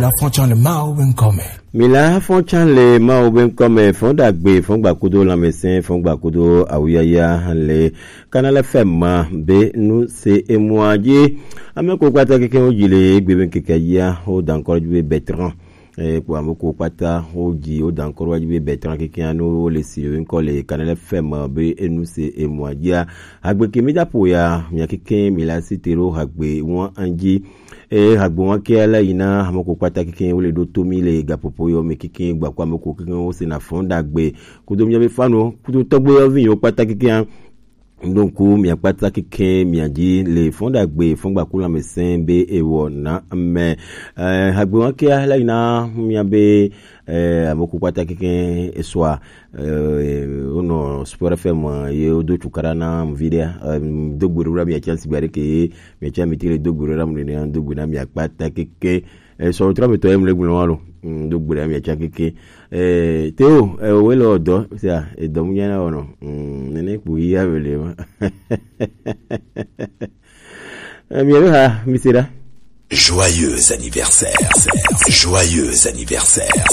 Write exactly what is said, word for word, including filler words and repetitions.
La fonction le Mao ben comme. Mila fonction le Mao ben comme fond d'agbe, fond bakudo la médecin, fond bakudo awuyaya le Canal F M be nu se emwaje. Ame ko kpata keke o jile gbe ben keke ya o dan ko be Bertrand. Eh, ko ame ko kpata o ji o dan ko wa be Bertrand keke anu le si ben ko le Canal F M be enu se emwaje. Agbe ke mi da po ya, mi keke mi la sitero agbe won anji. E hagbo ŋa ke ala yina hamoko kpata keke wole do to mi le gapopo yo me keke gbakwa moko keke wo se na fon dagbe kudo mi be fano kudo togbe yo vi yo kpata keke an. Donc mi kpata keke mi di le fon dagbe fon gbakula me sen be ewo na me. Eh, hagbo ŋa ke ala yina mi be eh, ame ku kpata keke esua, eh, ono Sport F M, eh, ye do tukara na mvide, eh, do gburu ra mi chance bare ke ye mi chance mi tire do gburu ra mi ne do gburu na mi kpata keke, eh, so tra mi to em le gburu walo. Mm, do gburu mi chance keke. Eh, Théo, eh, we lo do, sia, e do mu yana ono. Mm, nene ku ya vele ma. Eh, mi ha, mi sera. Joyeux anniversaire. Joyeux anniversaire.